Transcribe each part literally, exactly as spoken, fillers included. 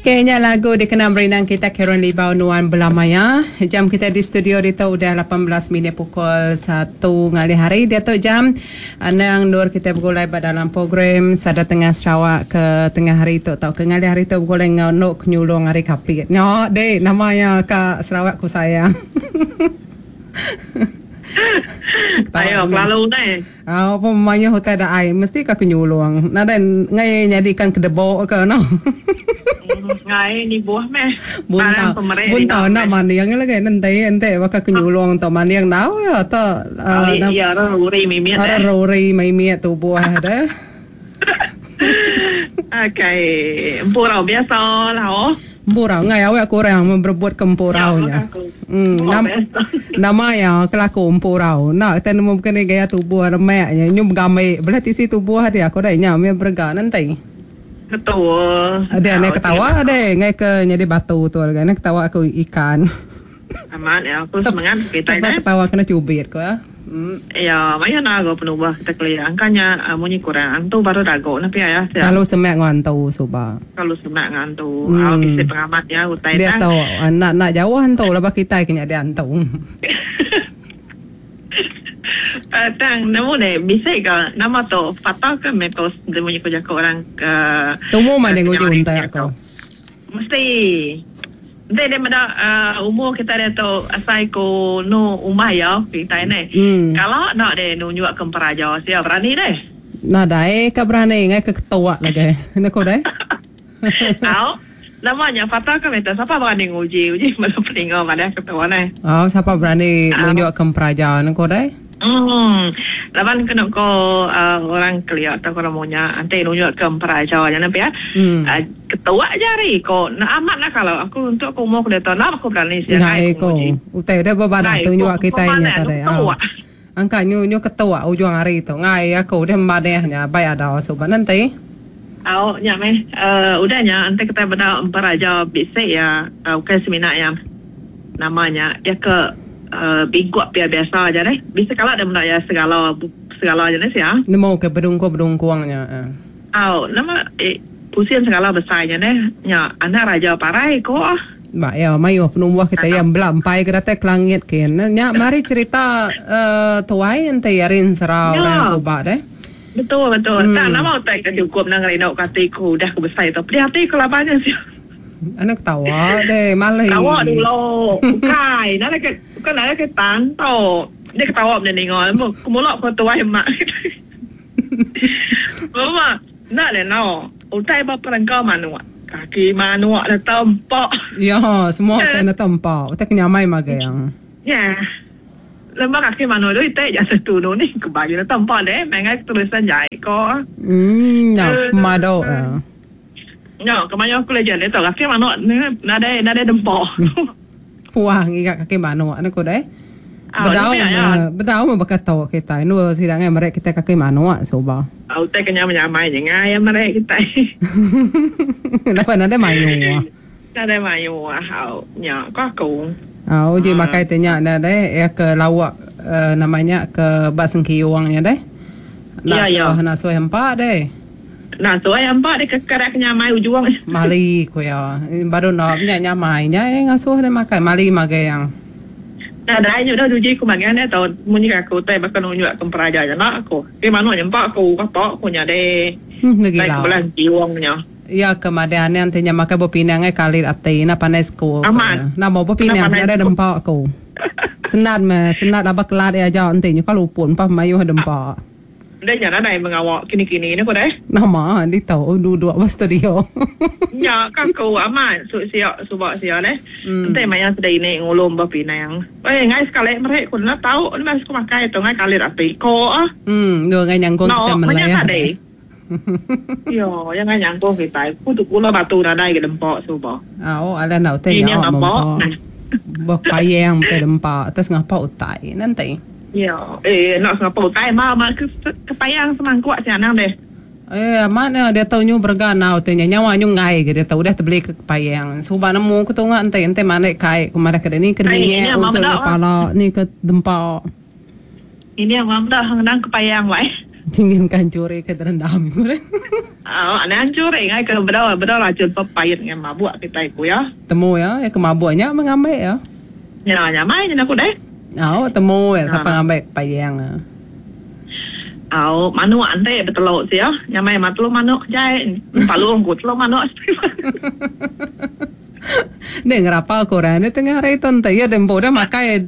Kayaknya lagu dikenang berinang kita Karen Libau Nuan Belamaya. Jam kita di studio itu udah lapan belas minit pukul satu ngalih hari. Dia tu jam anang nur kita bergulai dalam program Sada Tengah Sarawak ke tengah hari tu tau ke ngalih hari tu bergulai ngau nok nyulung hari kapit. Nyok dek namanya Kak Sarawak ku sayang. Ayo lalu ni. Ah, apa mayuh utai dak ai mesti ka kenyulung. Nadai ngai nyadikan kedebok ke no. Ngai ni buah meh. Buntau. Buntau nak maniang lagi nanti ente baka kenyulung to maniang nau ya to. Ya ruri mimiet. Ruri mimiet tu buah dah. Okey, empurau biasa lah oh. Empurau ngai awak kurang berebut ke empurau nya. Hmm, nam, nama ya kelaku empurau. Nak kita nemu bukan gaya tubuh remaknya nyu begamai belah tisi tubuh dia aku dah nya me berega nanti. Betul. Ada ne ketawa ada ngai ke jadi batu tu kan ketawa aku ikan. Aman ya aku semangat kita dah. Ketawa kena cubit ko ya. Hmm. Ya, maya nago penubah kita kelia angkanya uh, munyi kurang antu baru dago napi ya. Kalau semak ngantu suba. Kalau semak ngantu, hmm. Au bisi pengamat ya utai dia tahu nak nak jauh antu lah kita kena ada antu. Uh, tang nemu deh bisa ke nama tu patah ke mitos dia munyi kerja ke orang ke. Tumu mana nguji untai aku. Mesti dia dia meda uh, umur kita dia tu asai ko no umah ya kita ni. Hmm. Kalau nak dia nunjuk ke peraja siapa berani deh. Nah dai ke berani ngai ke ketua lagi. Nak ko dai. Tahu. Namanya patah ke minta siapa berani nguji uji mana peningo mana ketua ni. Oh siapa berani nunjuk ke peraja nak ko dai. Hmm. Laban kena ko uh, orang kelia atau orang monya nanti nunjuk ke peraja jangan ya. Hmm. Uh, ketua jari ko nak amat lah kalau aku untuk aku umur aku dah nak aku berani siap ngai ko. Utai dah berbadah tunjuk kita nya tadi. Angka nyu nyu ketua ujung hari tu ngai aku dah madehnya baik ada sobat nanti. Au nya meh uh, udahnya nanti kita benda peraja bisik ya uh, bukan seminar yang namanya ya ke Uh, bingkuk biar biasa aja deh. Bisa kalau ada benda ya segala segala jenis ya. Nemu ke bedungko-bedungkuangnya. Uh. Oh, nama eh, pusing segala besarnya deh. Nya anak raja parai ko. Ba ya, mayu penumbuh kita yang belampai ke datai ke langit kin. Nya mari cerita uh, tuai ente yarin serau dan sobat deh. Betul betul. Hmm. Tak nama utai ke cukup nang rindu katiku dah ku besar itu. Pedih hati ku labannya sih. Anak ketawa deh, malih. Ketawa dulu. Bukan, nak ke bukan nak ke tantau. Dia ketawa benda ni ngol. Kumulak ko tuai mak. Mama, nak le no. Utai ba perangkau manuk. Kaki manuk dah tempak. Ya, semua utai dah tempak. Utai kenyamai magang. Ya. Lembak kaki manuk tu utai jasa tunu ni kebagi dah tempak deh. Mengai tulisan jai ko. Hmm, ya, madok. No, kemarin aku lagi ada tu kaki manuk ni nada nada dempok. Puang ikat kaki manuk ni ko deh. Bedau bedau mah berkata kita. Nu sidang mereka kita kaki manuk soba. Au teh kena menyamai je ngai mereka kita. Napa nada mayu. Nada mayu ah, nya ko aku. Au je makai tanya dah deh ya ke lawak namanya ke bak sengkiuangnya deh. Ya ya. Nak suai empat deh. Nah, tu ayam pak dia kekerak nyamai ujung. Mali ko ya. Baru nak punya nyamai nya yang ngasuh dia makan mali magai yang. Nah, dah nyu dah uji ku makan dia tau munyi aku tai bakal nunjuk ke peraja je nak aku. Ke manuk nyempak aku kapak aku nya deh. Hmm, lagi lah. Belan jiwangnya. Ya kemadian yang tanya makan berpinang ai kali ati na pandai school. Aman. Nah, mau berpinang ada dempak aku. Senat me, senat abak kelat ya jauh nanti nyu kalau pun pa mayu dempak. Dia jangan ada yang mengawak kini-kini ni ko deh. Nama dia tahu duduk di studio. Ya, kaku aman su siap subak siap deh. Nanti maya sudah ini ngulum berpinang. Eh, ngai sekali mereka ku nak tahu ni masuk makai tu ngai kali rapi ko ah. Hmm, dua ngai nyangkung kita melaya. Yo, yang ngai nyangkung kita. Ku tu kula batu nadai ke dempok subak. Ah, oh, ada nak tanya apa? Berpayang te dempak atas ngapa utai nanti. Ya, eh nak ngapa utai ma ma ke kepayang semangkuk si anang deh. Eh, mana dia tahu nyu berganau tanya nyawa nyu ngai ke dia tahu dah terbeli ke kepayang. Suba nemu ku tungak ente ente mana kai ku mana ke ni ke minyak usul kepala ni ke dempak. Ini yang mam dah hang nang kepayang wai. Ingin kan curi ke terendam. Oh, anang curi ngai ke bedau bedau racun pepait ngan mabuk kita ku ya. Temu ya, ya ke mabuknya mengambil ya. Ya, nyamai nya aku deh. Oh, temu ya siapa ngambil payang. Oh, manuk ante beteluk sia. Nyamai mat telu manuk jai. Palung ku telu manuk. Nek ngerapa aku orang ni tengah hari tu ente ya dembo dah makai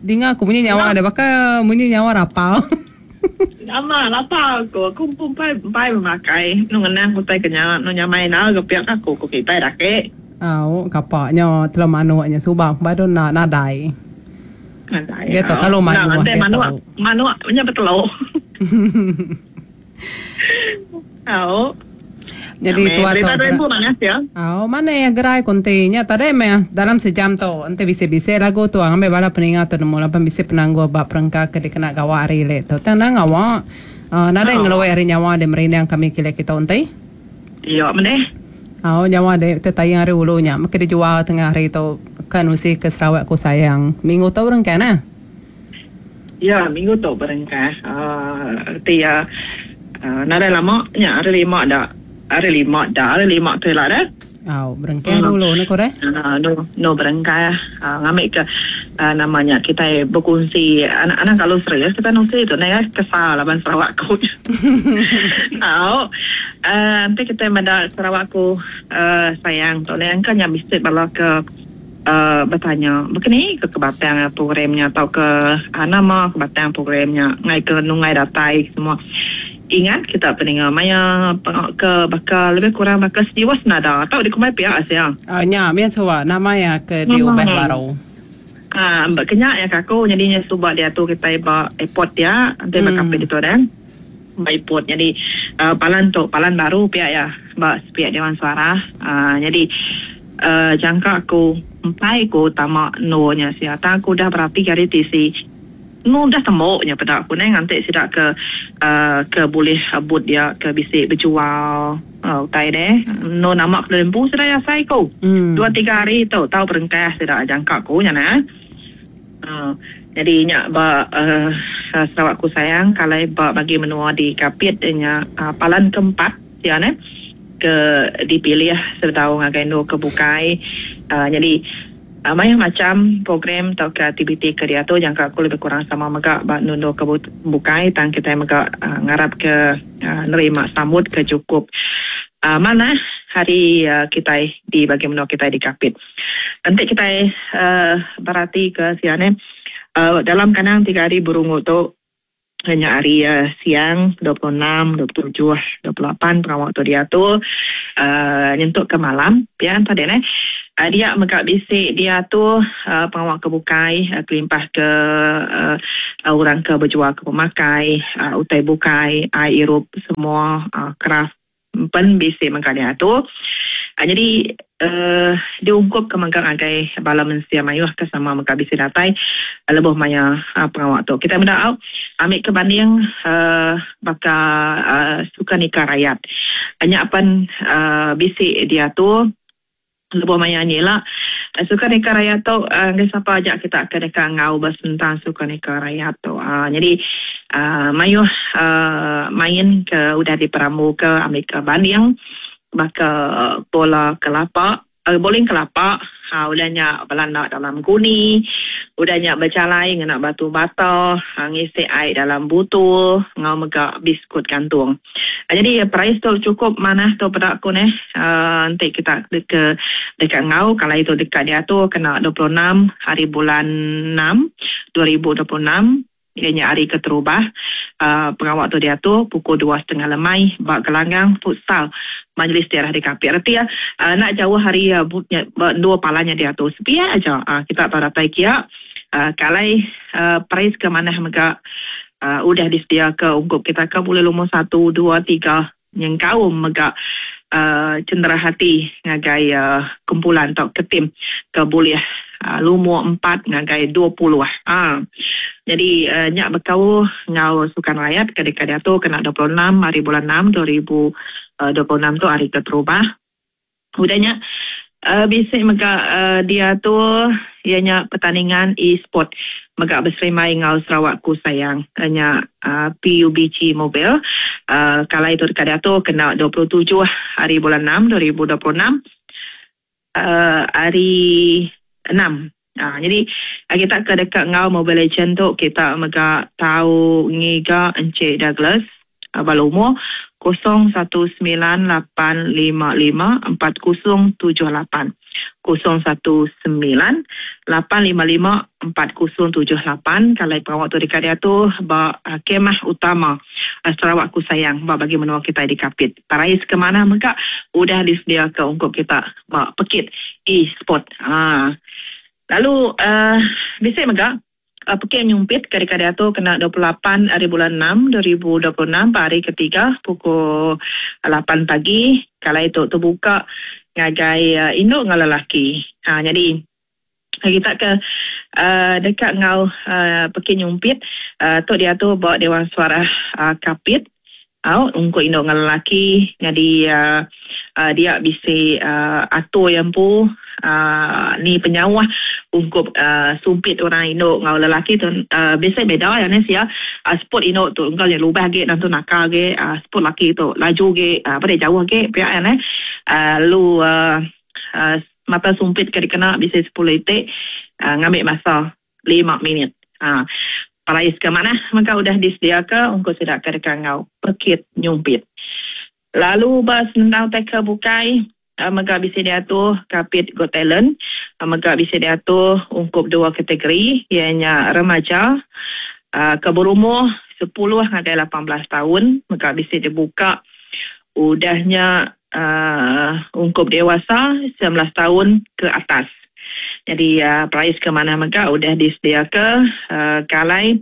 dinga aku bunyi nyawa ada bakal bunyi nyawa rapal. Nama lapar aku, aku pun pai pai memakai. Nu ngenang utai kenya, nu nyamai na ke pihak aku ku kita dah ke. Au, kapaknya telu manuknya subang baru nak nadai. Nadai. Dia tu kalau manuk, dia manuk, manuk nya beteluk. Au. Jadi tua tu. Berita mana ya? Oh, mana ya gerai kontinya tadi meh dalam sejam tu ente bisi-bisi lagu tu ambil bala peningat tu nemu lapan bisi penangguh bab perengka ke dikena gawa hari le tu. Tenang awak. Uh, nadai oh. Ngeluai hari nyawa de merindang kami kile kita ente. Iya, meneh. Oh, nyawa de tetayang hari ulunya mesti dijual tengah hari tu kan usi ke Sarawak ku sayang. Minggu tu berengkah nah. Ya, minggu tu berengkah. Uh, erti ya uh, nadai lama nya hari lima dah. Hari lima dah, hari lima tu lah dah. Oh, berengkah hmm. dulu ni kore. Uh, no, no berengkah. Uh, ngambil ke uh, namanya kita berkongsi anak-anak kalau serius kita nungsi tu naik kesal laban Sarawak ku. Oh, uh, nanti kita menda Sarawak ku uh, sayang tu ni kan yang mesti bala ke uh, bertanya, begini ke kebatang programnya atau ke uh, nama kebatang programnya ngai ke nungai datai semua. Ingat kita peningat maya ke bakal lebih kurang bakal sejiwa senada atau di kumai pihak Asia. Ah nya biasa wa nama ya ke diubah baru. Ah berkenyak ya kaku jadinya subak dia tu kita ba airport dia nanti hmm. Bakal itu dan ba airport jadi uh, palan tu palan baru pihak ya ba pihak Dewan Suara. Ah jadi uh, jangka aku empai ku tamak nunya sia tak aku dah berarti kali T C nu dah temboknya pada aku ni nanti sidak ke uh, ke boleh abut dia ke bisik berjual uh, utai deh nu nama ke lembu sudah ya sai ku hmm. Dua tiga hari tu tahu perengkah sidak jangka ku nya nah uh, jadi nya ba uh, Sarawak ku sayang kalau ba bagi menua di Kapit nya uh, palan keempat ya ne ke dipilih serta ngagai nu ke bukai uh, jadi Uh, banyak macam program atau aktiviti ke dia tu jangka aku lebih kurang sama megak bak nundo ke bukai tang kita megak uh, ngarap ke uh, nerima sambut ke cukup uh, mana hari uh, kita di bagi menua kita di Kapit. Nanti kita uh, berarti ke siane uh, dalam kanang tiga hari burungu tu hanya hari uh, siang dua puluh enam, dua puluh tujuh, dua puluh lapan pengawal tu dia tu uh, nyentuk ke malam ya tadi ne. Uh, dia megak bisik dia tu uh, pengawal ke bukai uh, kelimpah ke uh, orang ke berjual ke pemakai uh, utai bukai air irup semua uh, kraft pen bisik megak dia tu uh, jadi uh, diungkup ke megak agai bala mensia mayuh ke sama megak bisik datai uh, lebuh maya uh, pengawal tu kita benda au ambil ke banding uh, baka uh, sukan nikah rakyat banyak pen uh, bisik dia tu lebuh maya ni lah sukan nikah raya tu uh, siapa ajak kita akan dekat ngau bertentang sukan nikah raya tu uh, jadi uh, mayuh uh, main ke udah diperamu ke ambil ke banding baka bola kelapa uh, bowling kelapa ha udahnya belanda dalam guni udahnya berjalai ngena batu bata ha, ngisi air dalam butul ngau megak biskut gantung. Ha, jadi price tu cukup mana tu pada aku ni uh, nanti kita ke dekat ngau kalau itu dekat dia tu kena dua puluh enam hari bulan enam dua ribu dua puluh enam ianya hari keterubah uh, pengawal tu dia tu pukul dua setengah lemai bak gelanggang futsal Majlis Daerah di Kapit. Erti ya uh, nak jauh hari uh, bu, ya, dua palanya dia tu sepiak aja uh, kita tak datai kia uh, kalai uh, price ke mana megak uh, udah disedia ke ungkup kita ke boleh lumur satu, dua, tiga yang kaum megak uh, cendera hati ngagai uh, kumpulan atau ke tim ke boleh uh, lumur empat ngagai dua puluh. Ha. Jadi uh, nyak bekau ngau sukan rakyat ketika dia tu kena dua puluh enam hari bulan enam dua ribu dua puluh enam tu hari keterubah. Udahnya Uh, bisi mega uh, dia tu ianya pertandingan e-sport mega berserimai ngau Sarawakku Sayang nya uh, P U B G Mobile uh, kalau itu dekat dia tu kena dua puluh tujuh hari bulan enam dua ribu dua puluh enam uh, hari enam. Ha, jadi kita ke dekat ngau Mobile Legend tu kita mega tahu ngiga Encik Douglas Balomo kosong satu sembilan lapan lima lima empat kosong tujuh lapan kosong satu sembilan lapan lima lima empat kosong tujuh lapan. Kalau pengawal tu dekat dia tu ba kemah utama Sarawakku Sayang ba bagi menua kita di Kapit. Parais ke mana maka udah disediakan untuk kita ba pekit e-sport. Ha. Lalu uh, bisa mega Uh, pekit nyumpit kali-kali tu kena dua puluh lapan hari bulan enam dua ribu dua puluh enam hari ketiga pukul lapan pagi. Kalau itu terbuka ngagai uh, induk dengan lelaki. Ha, jadi kita ke uh, dekat ngau uh, pekit nyumpit uh, tu dia tu bawa Dewan Suara uh, Kapit. Au ungkup induk dengan lelaki. Jadi uh, uh, dia bisa uh, atur yang pu uh, ni penyawah ungkup uh, sumpit orang induk ngau lelaki tu uh, biasa beda ya ni sia uh, sport induk tu engkau yang lubah ge dan tu nakal ge uh, sport laki tu laju ge uh, pada jauh ge pihak ya ni uh, lu uh, uh, mata sumpit ke dikena bisa sepuluh itik uh, ngambil masa lima minit. Ha. Uh, Parais ke mana maka udah disediakan untuk sedak ke dekat ngau pekit nyumpit. Lalu bas nendang teka bukai uh, mega bisa diatur Kapit Got Talent, uh, mega bisa diatur ungkup dua kategori ianya remaja uh, ke berumur sepuluh hingga lapan belas tahun mega bisa dibuka udahnya uh, ungkup dewasa sembilan belas tahun ke atas. Jadi uh, perais ke mana mega udah disediakan uh, kalai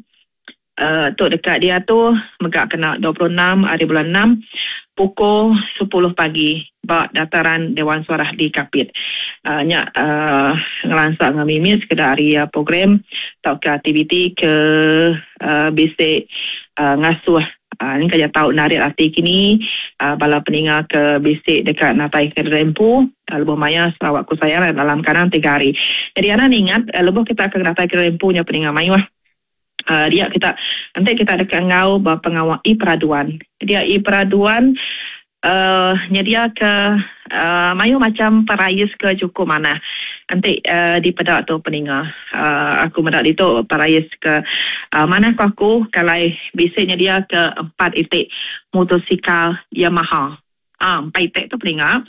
uh, tu dekat dia tu mega kena dua puluh enam hari bulan enam pukul sepuluh pagi bak dataran Dewan Suara di Kapit. Uh, nyak uh, ngelansak dengan mimi sekedar hari uh, program atau ke aktiviti ke uh, bisik uh, ngasuh. Uh, ni kerja tahu narik hati kini uh, bala peninga ke bisik dekat Natai ke Rempu uh, Lebuh Maya Sarawakku Sayang dalam kanan tiga hari. Jadi anak ni ingat uh, lebuh kita ke Natai ke Rempu nya peninga mayuh. Uh, dia kita nanti kita dekat ngau pengawal i peraduan. Dia i peraduan uh, nyedia ke uh, mayu macam parayus ke cukup mana. Nanti uh, di pedak tu peninga. Uh, aku medak itu parayus ke uh, mana ku aku kalau bisanya dia ke empat itik motosikal Yamaha. Ah, empat itik tu peninga.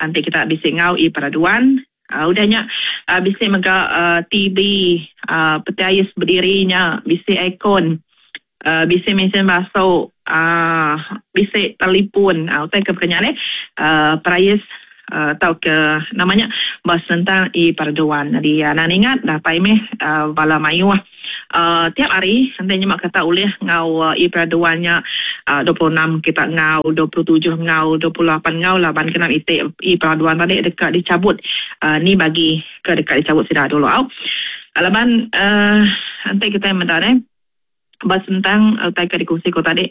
Nanti kita bisik ngau i peraduan. Uh, udahnya uh, bisik mega uh, T V uh, petiayus berdirinya, bisik aircon, uh, bisik mesin basuh, uh, bisik telefon. Uh, utai ke perkenaan ni uh, perayus atau uh, ke namanya bahas tentang i peraduan. Jadi uh, nak ingat dah pai meh uh, bala mayuh uh, tiap hari nanti nyemak kata ulih ngau uh, i peraduannya uh, dua puluh enam kita ngau, dua puluh tujuh ngau, dua puluh lapan ngau laban kena itik i peraduan tadi dekat dicabut. Uh, ni bagi ke dekat dicabut sudah dulu au. Laban uh, nanti kita mendak eh bahas tentang utai ke dikongsi ko tadi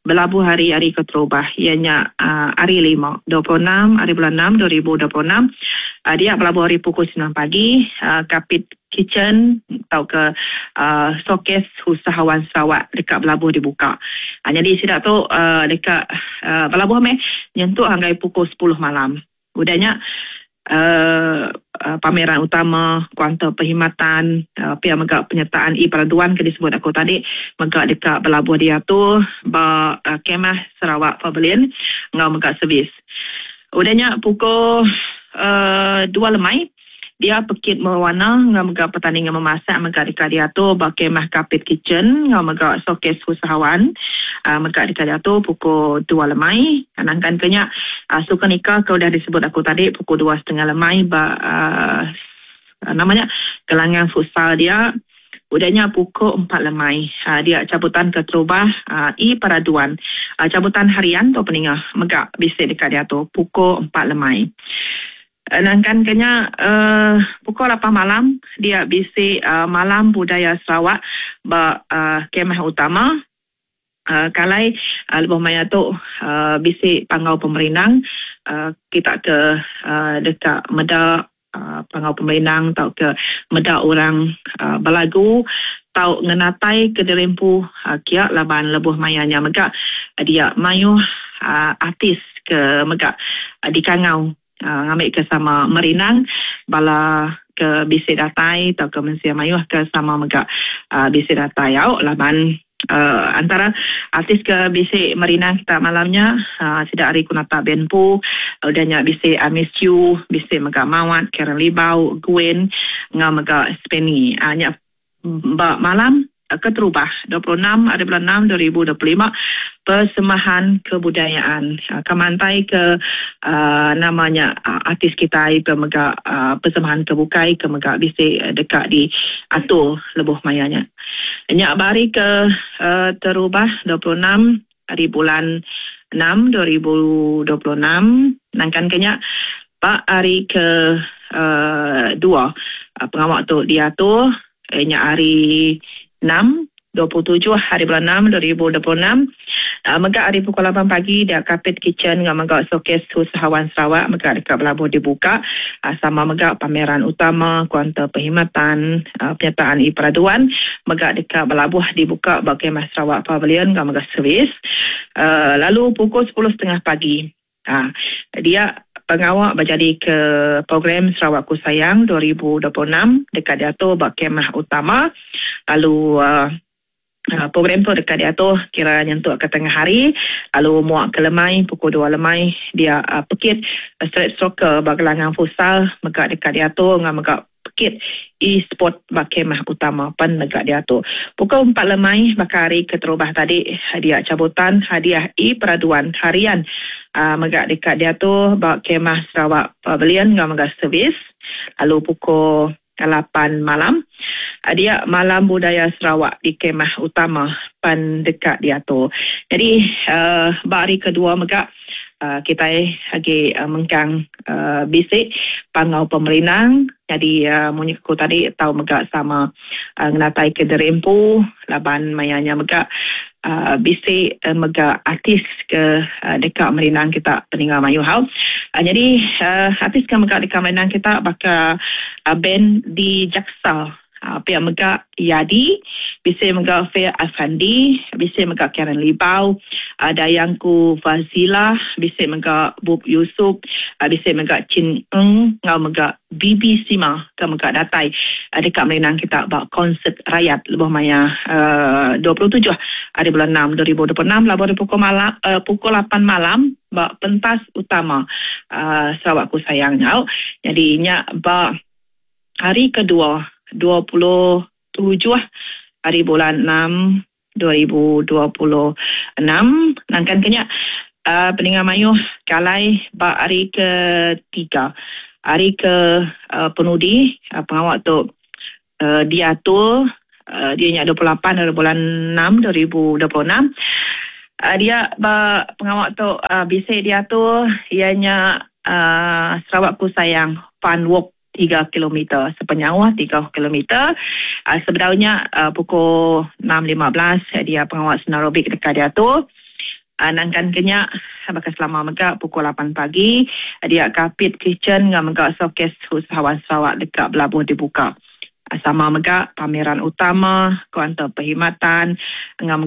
berlabuh hari-hari keterubah ianya uh, hari lima dua puluh enam hari bulan enam dua ribu dua puluh enam uh, dia berlabuh hari pukul sembilan pagi uh, Kapit Kitchen atau ke uh, showcase usahawan Sarawak dekat berlabuh dibuka. Uh, jadi sidak tu uh, dekat uh, berlabuh meh nyentuh hingga pukul sepuluh malam. Udahnya Uh, uh, pameran utama kuanta perkhidmatan uh, pihak megak penyertaan i peraduan ke disebut aku tadi megak dekat berlabuh dia tu ba uh, kemah Sarawak Pavilion ngau megak servis. Udahnya pukul uh, dua lemai dia pekit mewarna ngau megak pertandingan memasak megak dekat dia tu ba kemah Kapit Kitchen ngau megak showcase usahawan uh, megak dekat dia tu pukul dua lemai. Nangkan kenya uh, suka nikah kau dah disebut aku tadi pukul dua setengah lemai ba uh, namanya gelangan futsal dia. Udahnya pukul empat lemai uh, dia cabutan keterubah uh, i peraduan uh, cabutan harian tu peningah megak bisik dekat dia tu pukul empat lemai. Nangkan kenya uh, pukul lapan malam dia bisik uh, malam budaya Sarawak ba uh, kemah utama. Uh, kalai uh, lebuh maya tu uh, bisi pangau pemerindang uh, kita ke uh, dekat meda uh, pangau pemerindang atau ke meda orang uh, belagu tau ngenatai ke dirempu uh, kia laban lebuh mayanya mega uh, dia mayuh uh, artis ke mega uh, dikangau uh, ngambil ke sama merinang bala ke bisi datai atau ke mensia mayuh ke sama mega uh, bisi datai au laban Uh, antara artis ke bisi merinang kita malamnya uh, sida hari kunata benpu udah nya bisi I Miss You, bisi mega Mawat, Karen Libau, Gwen ngau mega Spenny. Uh, nya ba malam keterubah dua puluh enam hari bulan enam dua ribu dua puluh lima persembahan kebudayaan uh, kemantai ke uh, namanya uh, artis kita pemega uh, persembahan kebukai ke mega bisi uh, dekat di atur lebuh mayanya. Nya bari ke uh, terubah dua puluh enam hari bulan enam dua ribu dua puluh enam nangkan kenya pak hari ke uh, dua uh, pengawak tu diatur eh, nya hari enam, dua puluh tujuh hari bulan enam dua ribu dua puluh enam. Uh, mega hari pukul lapan pagi dia Kapit Kitchen dengan mega showcase usahawan Sarawak mega dekat Belabuh dibuka. Uh, sama mega pameran utama kuanta perkhidmatan uh, penyertaan e-peraduan mega dekat Belabuh dibuka bagi Mas Sarawak Pavilion dengan mega servis. Uh, lalu pukul sepuluh setengah pagi. Uh, dia pengawak berjadi ke program Sarawakku Sayang dua ribu dua puluh enam dekat diatur bak kemah utama. Lalu uh, uh, program tu dekat diatur kira nyentuk ke tengah hari. Lalu muak ke lemai pukul dua lemai dia uh, pekit uh, street soccer bak gelangang futsal mega dekat diatur ngah mega pekit e-sport bak kemah utama pen mega diatur. Pukul empat lemai bakal hari keterubah tadi hadiah cabutan hadiah e-peraduan harian uh, mega dekat diatur bak kemah Sarawak Pavilion ngah mega servis. Lalu pukul lapan malam dia malam budaya Sarawak di kemah utama pan dekat diatur. Jadi uh, bak hari kedua mega uh, kita lagi uh, mengkang uh, bisik pangau pemerinang. Jadi uh, munyi ku tadi tahu mega sama uh, ngenatai ke derempu laban mayanya mega uh, bisik uh, mega artis ke uh, dekat merinang kita peninggal mayu hau. Uh, jadi uh, artis ke mega dekat merinang kita bakal uh, band di Jaksa. Uh, pihak mega Yadi, bisa mega Fair Afandi, bisa mega Karen Libau, uh, Dayangku Fazila, bisa mega Bub Yusuf, uh, bisa mega Chin Eng, ngau mega B B Sima ke mega datai uh, dekat merinang kita bak konsert rakyat lebuh maya uh, dua puluh tujuh hari bulan enam dua ribu dua puluh enam lalu pukul malam uh, pukul lapan malam bak pentas utama uh, Sarawakku Sayang ngau. Jadi nya bak hari kedua dua puluh tujuh hari bulan enam dua ribu dua puluh enam nangkan kenya uh, peningan mayuh kalai bak hari ketiga hari ke uh, penudi uh, pengawak tu uh, diatur uh, dia nya dua puluh lapan hari bulan enam dua ribu dua puluh enam. Uh, dia bak pengawak tu uh, bisa diatur ianya uh, Sarawakku Sayang Fun Walk tiga kilometer, sepenyawah tiga kilometer. Uh, sebenarnya uh, pukul enam lima belas dia pengawal senarobik dekat dia tu. Uh, nangkan kenyak bakal selama megak pukul lapan pagi dia Kapit Kitchen dengan megak showcase usahawan Sarawak dekat Belabuh dibuka. Uh, sama megak pameran utama kuanta perkhidmatan dengan